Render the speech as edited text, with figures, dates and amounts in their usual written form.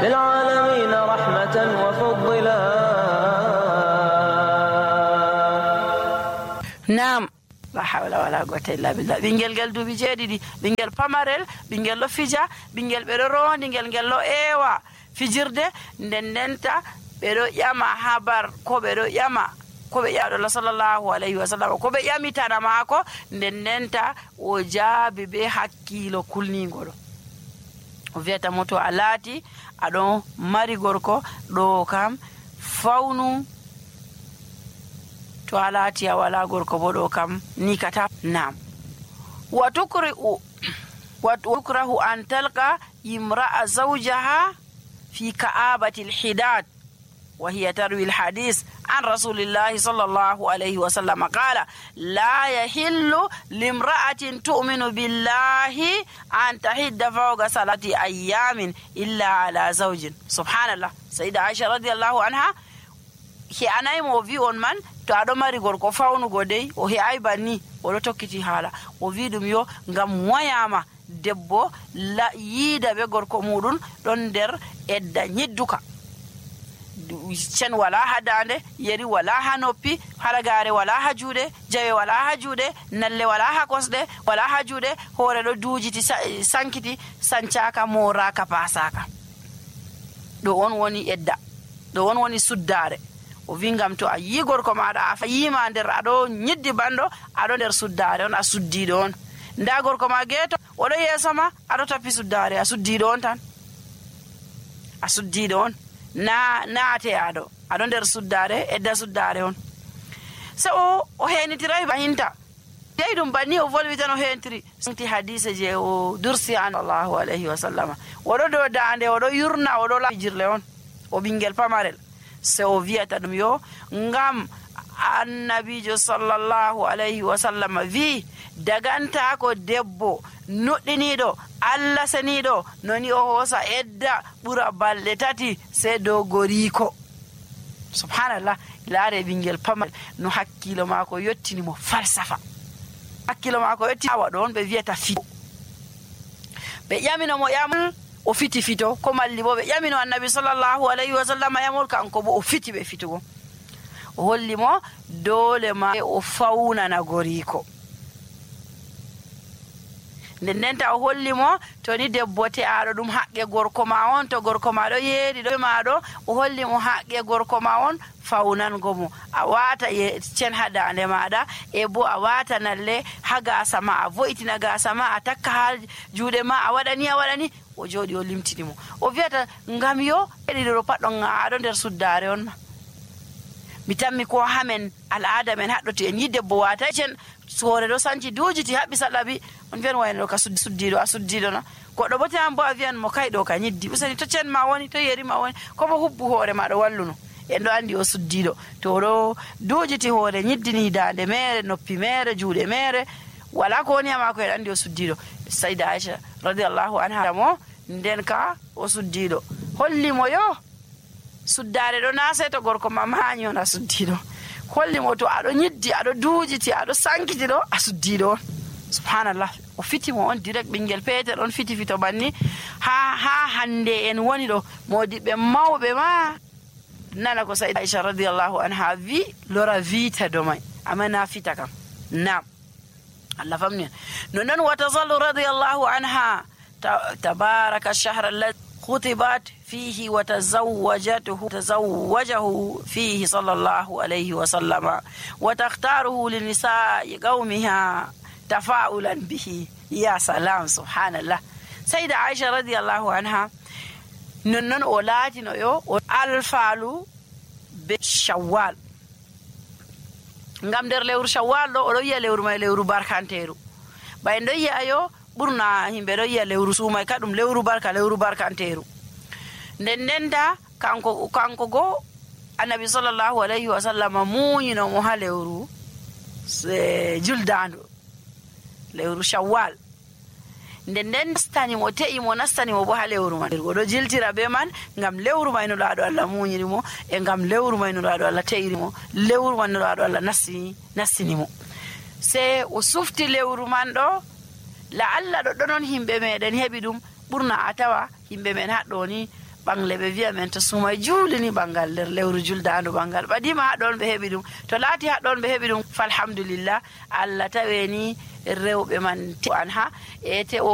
للعالمين رحمة وفضلا. نعم la hawla wala quwwata illa billah. Ɓingel ngel duuɓi 7 ɓingel pamarel, ɓingel ɗo fija, ɓingel ɓeɗo rondi ngel ɗo eewa fijirde, ndenta ɓeɗo ƴama habar ko ɓeɗo ƴama ko ɓe ƴaɗo sallallahu alayhi wa sallam ko ɓe ƴamitana maako, ndenta o jaabi be hakkilo kulnigoɗo. O wiyata mo to a laati aɗon mari gorko ɗo kam fawnu, to a laati a wala gorko bo ɗo kam nikata. Nam wa tukrahu an talqa imra'a zawjaha fi ka'abati al-hidad wa hiya tarwi al-hadith an rasulillahi sallallahu alayhi wa sallam qala la yahillu limra'atin tu'minu billahi an tahidda fawqa salati ayyamin illa ala zawjin. Subhanallah. Sayyida Aisha radiyallahu anha he anaymo o wi on man to aɗo mari gorko fawnugo dey o he'ay banni oɗo tokkiti haala o wi ɗum yo ngam wayama debbo yiida be gorko muɗum ɗon nder edda ñidduka, cen wala ha dande, yeri wala ha noppi, halagare wala ha juuɗe, jawe wala ha juuɗe, nalle wala ha kosɗe, wala ha juuɗe, hoore ɗo duujiti sankiti, sancaka, moraka, pasaka. ɗo on woni edda, ɗo on woni suddare. o wi ngam to a yi gorko maɗa a yima nder aɗo ñiddi banɗo aɗo nder suddare on, a suddiɗo on. nda gorko ma geeto oɗo yeeso ma aɗo tappi suddare, a suddiɗo on tan, a suddiɗo on, naate aɗo nder suddare, edda suddare on. so o henitiray bahinta dey ɗum banni o volwi tan o hentiri santi hadise je o dursi an sallallahu alayhi wa sallama. oɗo dow dande oɗo yurna oɗo lafijirle on o ɓingel pamarel. se o wiyata ɗum yo ngam annabijo sallallahu alayhi wa sallam wi daganta ko debbo nuɗɗiniɗo Allah seniɗo noni o hoosa edda ɓura balɗe 3 se dow goriko. Subhanallah. laare ɓingel pamarel no hakkilo maako yottini mo falsafa, hakkilo maako yotti awa ɗon ɓe wiyata fito. ɓe ƴamino mo ƴamol o fiti fito, ko malli bo ɓe ƴamino annabi sallallahu alayhi wa sallam yamol, kanko bo o fiti ɓe fitugo. o holli mo dole ma o fawnana goriko. ndenta o holli mo to ni debbo te aɗo ɗum haqqe gorko ma on, to gorko ma ɗo yeeɗi ɗo maɗo, o holli mo haqqe gorko ma on fawnango mo. a wata cen ha dande maɗa, e bo a wata nalle ha gasa ma, a vo'itina gasa ma, a takka ha juuɗe ma, a waɗani o jooɗi o limtini mo. o wiyata ngam yo eɗiɗo pat ɗon aɗo nder suddare on ma. mi tammi ko hamen al'ada men haɗɗo to en yi debbo wata cen hoore ɗo sanci duujiti haɓɓi saɗaɓi, on wiyan wayno ɗo ka suddiɗo, a suddiɗo na. goɗɗo bo tan bo a wiyan mo kay ɗo ka ñiddi, usani to cen ma woni, to yeri ma woni, ko bo hubbu hoore ma ɗo walluno, en ɗo andi o suddiɗo. to ɗo duujiti hoore ñiddini dande mere, noppi mere, juuɗe mere, wala ko woni ha mako, en andi o suddiɗo. Sayyida Aisha radiyallahu anha mo nden ka o suddiɗo, holli mo yo suddare ɗo na sey to gorko ma mañi on a suddiɗo. holli mo to aɗo ñiddi, aɗo duujiti, aɗo sankiti ɗo, a suddiɗo on. Subhanallah. o fiti mo on direct, ɓingel peetel on fiti fito banni. ha hande en woni ɗo modiɓɓe mawɓe ma nana ko Sayyida Aisha radiyallahu anha wi lora vita do mai, amma na fita kam. nam Allah famni no non watazallu radiyallahu anha tabaraka ash-shahr alladhi khutibat fihi wa tazawwajahu fihi sallallahu alayhi wa sallama wa takhtaruhu li nisa'i qaumiha tafa'ulan bihi. ya salam. Subhanallah. Sayyida Aisha radiyallahu anha non o laatino yo o alfalu be Shawwal, ngam nder lewru Shawwal ɗo oɗo yiya lewru mai lewru barkanteru. ɓay ɗo yiya yo ɓurna himɓe ɗo yiya lewru sumai ka ɗum lewru barkanteru. ndenta kanko go annabi sallallahu alayhi wa sallam muñino mo ha lewru juldandu, lewru Shawwal. nden nastani mo te'i mo nastani mo bo ha lewru man. oɗo jiltira be man ngam lewru may no laaɗo Allah muñiri mo, e ngam lewru may no laaɗo Allah te'iri mo, lewru man no laaɗo Allah nastini mo. se o sufti lewru man ɗo, la Allah ɗo ɗonon himɓe meɗen heɓi ɗum ɓurna a tawa himɓe men haɗɗo ni ɓangle ɓe wiya men to sumay juulini ɓangal nder lewru juldandu ɓangal ɓadima haɗon ɓe heɓi ɗum to laati haɗon ɓe heɓi ɗum falhamdulillah Allah taweni rewɓe man an ha ete o